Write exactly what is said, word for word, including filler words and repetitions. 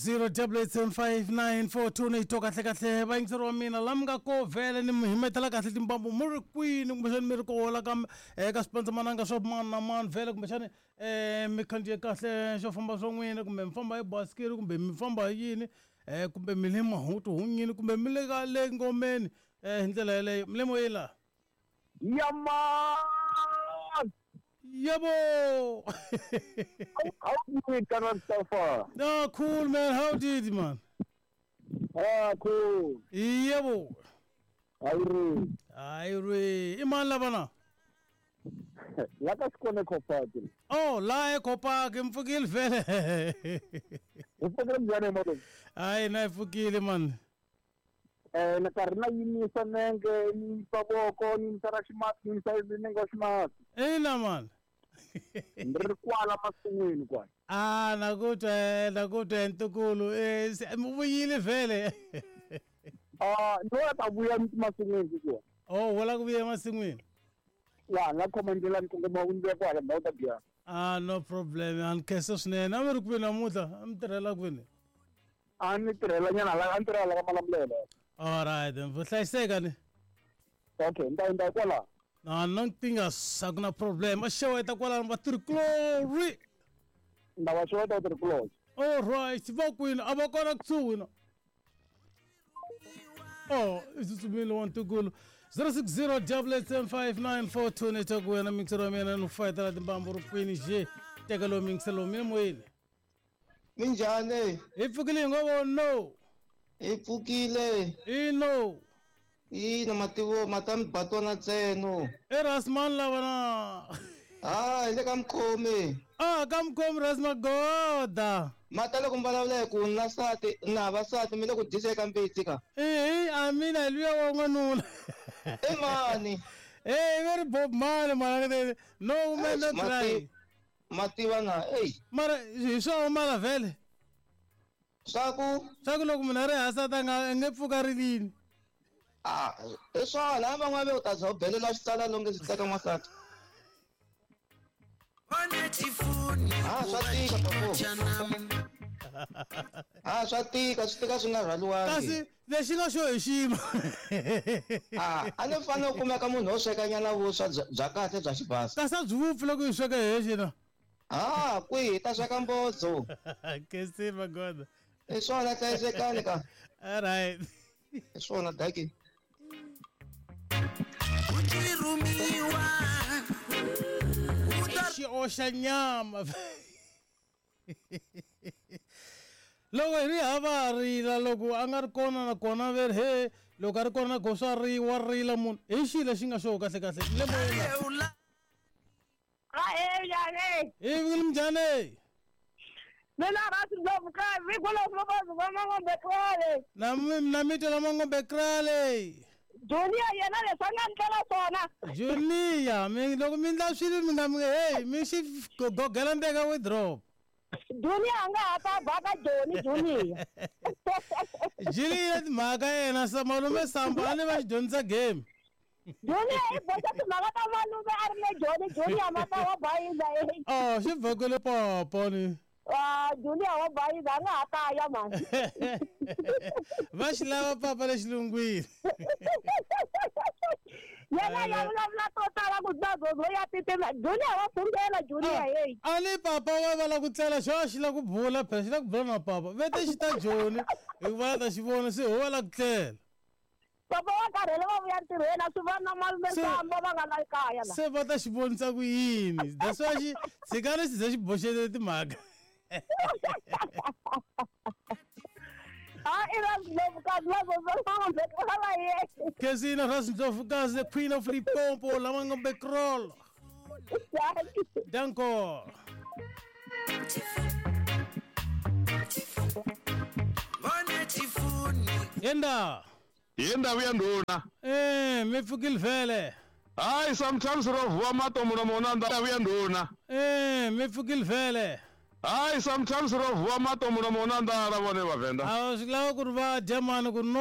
zero double eight seven five nine four two ni twa kahle kahle vayingiseri wa mina la mi nga ko vhele ni mi himetela kahle timbambu mi ri kwini kumbexani mi ri kola ka eka swipandzamananga swa mani na mani vhele kumbexani um mi khandziye kahle xo famba swa n'wina kumbe mi famba hi basikiri kumbe mi famba hi yini um kumbe mi le mahutu hunyini kumbe mi le ka le ngomeni um hi ndlela yeleyo mi le moyeni laha Yaman! Yebo! How, how do you doing, so far? No, cool, man. How did you, man? Ah, cool. Yebo. Ayre. Ayre. Iman labana. La ka sikone Kopaki. Oh, la e Kopaki mfukile vele. Ufukile njani mo? Ay, na ifukile man. Eh, na karhi na yimisa nenge, yimisa voko, yimisa ra ximatsi, yimisa nenge wa ximatsi. Ina man. Ni ri kwala masin'wini kwala. Ah, na ku twa, na ku twa ntukulu. Eh, mi vuyile vhele. Ah, ni wa ta vuya masin'wini ku. Oh, wala ku vuya masin'wini. Ya, na khoma ndlela ni kongoma ku ndzi kwala ndhawu ta biya. Ah, no problem. An khensa swinene. A mi ri kwini namuntlha? A mi tirhela kwini? A ni tirhela nyana la, a ni tirhela ka Malamulele. All right, then. Vuhlayiseka ni. Okay, nda nda kwala. No, no nkinga a ku na problem. A xeweta kwalano va Tricolore. Nda va xeweta Tricolore. All right, va kwini? A va kona kusuhi na. Oh, i tsutsumile wa ntukulu. zero six zero double eight seven five nine four two ni ta ku wena mixero wa mina ni fayetela timbambu ri kwini je teka lowu mixero mina moyeni. Minjhani? Hi pfukile hi ngo vo no. Hi pfukile. Ino. Ina mativo matami batona ntsena. I Rasman lava na. Ah, hi le ka Mkhomi. Ah, ka Mkhomi Rasmagoda. Mata loko mi vulavula hi ku na nsati na vasati mi le ku dyisa eka mbitsi ka. Eh, a mina hi luya wa n'wanuna. I mani? Eh, very Bob Marley mara no woman no cry. Mativa na, ey. Mara hi swo mara vhele. Swa ku swa ku loko munhu a ri hansi a ta nga nge pfuka rilini. Ah, hi swona van'wana va u ta za u belela xitsala longe swi tsaka n'wansati. Ah, swa tika papo. Ah, swa tika, swi tika swi nga rhwaliwangi. Kasi lexi nga xo hi xima. Ah, a ni fanele u kumeka munhu wo sweka nyana vuswa bya kahle bya xibasa. Kasi a byi vupfi loko hi sweka hi hexe na. Ah, kwihi hi ta sweka mbodzo. Kesi magoda. Hi swona hlayisekani ka. All right. Hi swona daki. Xi oxa nyama. Loko hi ri hava rila loko a nga ri kona na kona ve ri he loko a ri kona na swa riwa rila munhu hi xilo lexi nga xo kahle kahle le moyeni. Ah, njhani? Hi vukile minjhani? Mina Rasindlovukazi hikwalaho va Mangombe Krale. Na na mi twa la Mangombe Krale. Junior yena leswi a nga ndlela swona. Junior, mi loko mi ndla swilo mi nga mi hey mi xi gogela ndeka withdraw. Junior a nga ha ta baka Joni Junior. Junior timhaka yena sa malume Samba a ni va xi dyondzisa game. Junior i boxa timhaka ta malume a ri le Joni Junior mata wa bayiza. Oh, xi vhokele popo ni. Ah, Junior wa bayiza a nga ha ta ya mani. Va xi lava papa le xilungwini. Yena ya vulavula to tala ku tlula zozo ya titimela. Junior wa fungela Junior hey. A ni papa wa va la ku tlela xo xi la ku bula phela xi la ku bula na papa. Vete xi ta Joni hikuva ta xi vona se ho va la ku tlela. Papa wa karhele va vuya ntirhweni a swi vona na malume Samba va nga la kaya la. Se va ta xi vonisa ku yini. That's why xi tshikani xi ze xi boxele timhaka. Ah, i Rasindlovukazi la Mangombe Krale. Kesina Rasindlovukazi, the queen of Limpopo, la Mangombe Krale. Danko. Yenda. Yenda vuya nduna. Eh, mi pfukile vhele. Hayi, sometimes ro vuwa mato mulomo na nda vuya nduna. Eh, mi pfukile vhele. Hayi, sometimes ro vuwa mato mulomo na ndala vone vavenda. A swi lava ku ri va dya mani ku